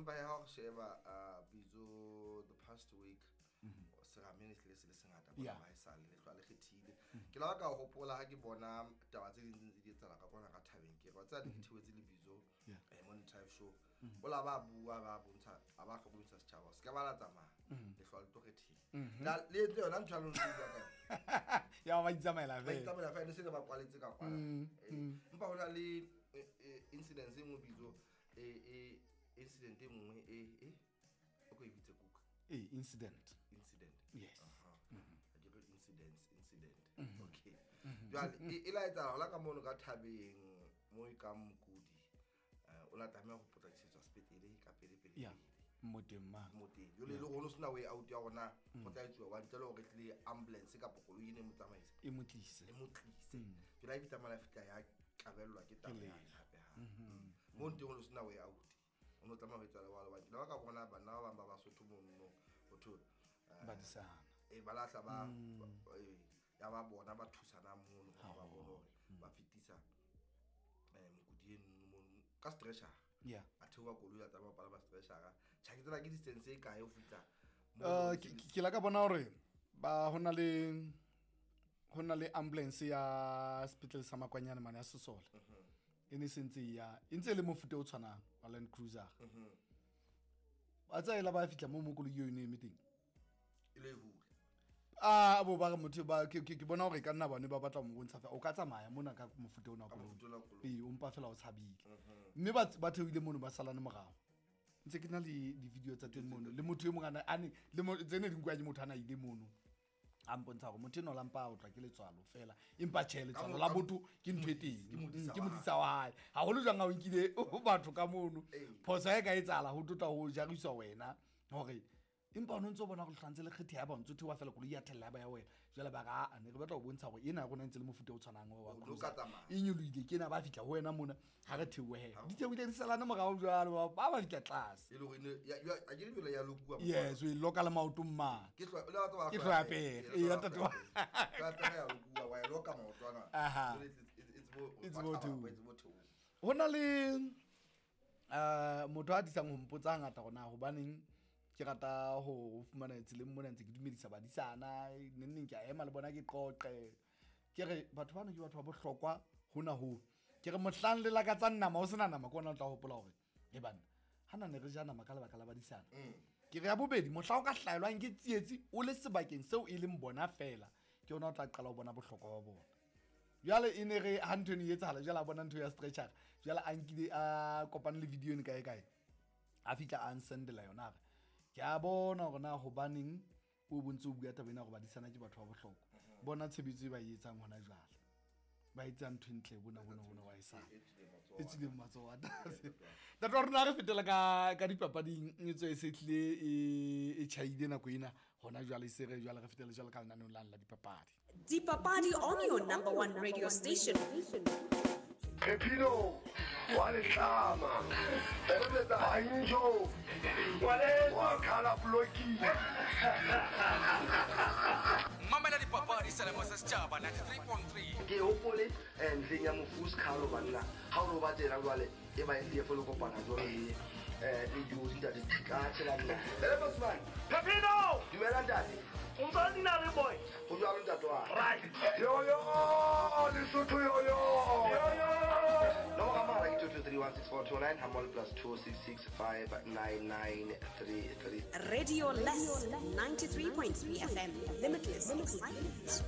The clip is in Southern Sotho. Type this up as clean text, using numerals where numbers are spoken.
Empa ya ho sheba bizo the past week seramene se le sengata bona ba esale le hlwa le kgethile. Ke la ka hopola ha ke bona taba tse ding tse di etsahala ka kona ka thabeng ke re tsa di thewetse le bizo morning drive show. O la ba bua ba bontsha a ba hlokomedisa setjhaba se ka ba la tsamaya le hlwa le tlo kgethile. Le tle yona ntho ya lona bua ka ya ba itsamaela fela. Ba itsamaela fela ne se ba kwaletse ka kwana. Empa hona le incident e nngwe bizo incident e nngwe o ko e bitse kuka. Incident. Yes. Incident. Okay. Jwale e la etsahala hola ka mono ka thabeng mo e ka mokudi. O la tlameha ho potlakisetswa sepetlele ka pele pele. Yeah. Moteng ma. Moteng. Jwale le rona sena way out ya rona go tla etsuwa wa ntle le hore tle ambulance kapa koloi e ne mo tsamaisa. E motlise. Jwale e fitla mala fitla ya kabellwa ke taba ya hape ha. Mo nteng o sena way out. O no tlameha ho etsa le wa ba ba ka bona bana ba bang ba Basotho mono ho thole badisana ba lahla ba ya ba bona ba thusana mono ba bona hore ba fitisa mokudi eno ka stretcher. Yeah. A theoha koloi ya tsamaya palama stretcher. Tjha ke tsela ke distance e kae ho fitla. Ke la ka bona hore ba hona le ambulance ya sepetlele sa Makwanyane mane ya Sesole. E ne sentse ya e ntse le mofuta o tshwanang wa Land Cruiser. Ba tsaela ba fitla mo koloi eo e ne eme teng. E le hule. A bo ba motho ba ke bona hore ka nna bane ba batla mo bontsha fa o ka tsamaya mona ka mofuta ona koloi. O mpa fela o tshabile. Mme ba theohile mono ba salane morao. Ntse ke na le di video tsa teng mono le motho e mong a ne le tsene di nkuwa ke motho ana ile mono. A mpontsha hore motho eno la mpa o tla ke letswalo fela empa tjhe letswalo la botho ke ntho e teng ke modisa wa hae haholo jwang ha o nkile batho ka mono phoso e ka etsahala ho tlotla ho jariswa wena hore empa o ntse o bona go hlantse le kgethe ya ba ntse thewa fela koloi ya thella ba ya wena jwale ba ga a ne re batla go bontsha hore ena rona ntse le mofuta o tshwanang wa e nyolohile ke ena ba fitla ho wena mona ha re theohe di theohile di salane morao jwalo ba ba fitla tlase e le hore a ke le ya lokuwa. Yes, we loka le maoto mma ke tlo le batho ba ke tlo ya pele e ya tata ka ya lokuwa wa loka maoto ana it's bo two hona le motho a disang ho mpotsa ngata rona hobaneng ke rata ho fumana tseleng mona ntse ke dumedisa badisana neng ke a ema le bona ke qoqe ke re batho bana ke batho ba bohlokwa hona ho ke re mohlang le lakatsa nama o sena nama ke ona o tla hopola hore e banna hana ne re ja nama ka lebaka la badisana. Ke re ya bobedi mohla o ka hlaelwang ke tsietsi o le sebakeng seo e leng bona fela ke ona o tla qala ho bona bohlokwa ba bona. Jwale e ne re ha ntho e etsahala jwale a bona ntho ya stretcher jwale a nkile a kopane le video ne kae kae a fitla a nsendela yona re ke a bona hore na hobaneng o bontse o bua taba ena hore badisana ke batho ba bohlokwa. Bona tshebetso e ba e etsang hona jwale ba etsa ntho ntle bona wa e sa e tswileng matsoho a tlase. Ntate wa rona re fetela ka dipapading e tswe e se tlile e tjhaile nako ena hona jwale se re jwale re fetela jwale ka lenaneong la dipapadi. Dipapadi on your number one radio station. Pepino wa letlama Banjo wa khala bloki. Mamela dipapadi selemo sa setjhaba 93.3. Ke hopole ntleng ya mofus khalo banna ha o ba tsena jwale e ba e fo le kopana jwale le di ntate ka tshela nna. Ele Bosman Pepino dumela ntate. O ntse nna le boy. Ho jwalo ntate wa. Right. Yo yo Lesotho yo yo. Yo yo. Nomoro ya mohala ke 2231642 hamol plus 266599933. Radio Less 93.3 FM. Limitless excitement.